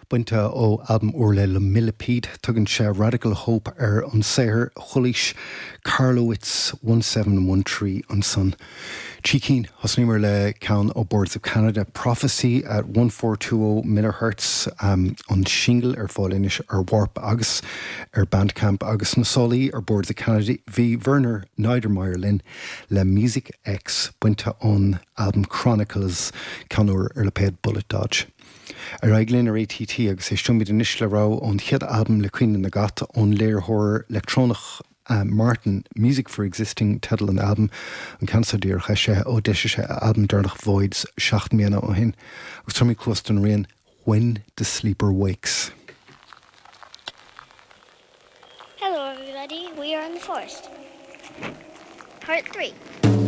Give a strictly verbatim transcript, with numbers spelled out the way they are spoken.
Bainte ó albam úr le Le Millipede tugann sé Radical Hope ar an saothar Chulis Carlowitz one seven one three ansan. Trí cinn thosnaíomar le ceann ó Boards of Canada Prophecy at one four two oh millihertz um, an single ar fáil anois ar Warp agus ar Bandcamp agus na sálaí ar Boards of Canada bhí Werner Niedermeyer linn le Music X bainte ón album Chronicles ceann úr ar lipéad Bullet Dodge. Ar aghaidh linn ar ATT agus éisteoimid anois le rogha ón chéad albam le Caoineadh na gCat ón léiritheoir leictreonach uh, Martin Music for Existing teideal an albaim an ceann seo díreach eisithe ó d'eisigh sé a albam deireanach Voids seacht mbliana ó shin agus tabharfaimid cluas don rian When the Sleeper Wakes. Hello everybody, we are in the forest. Part three.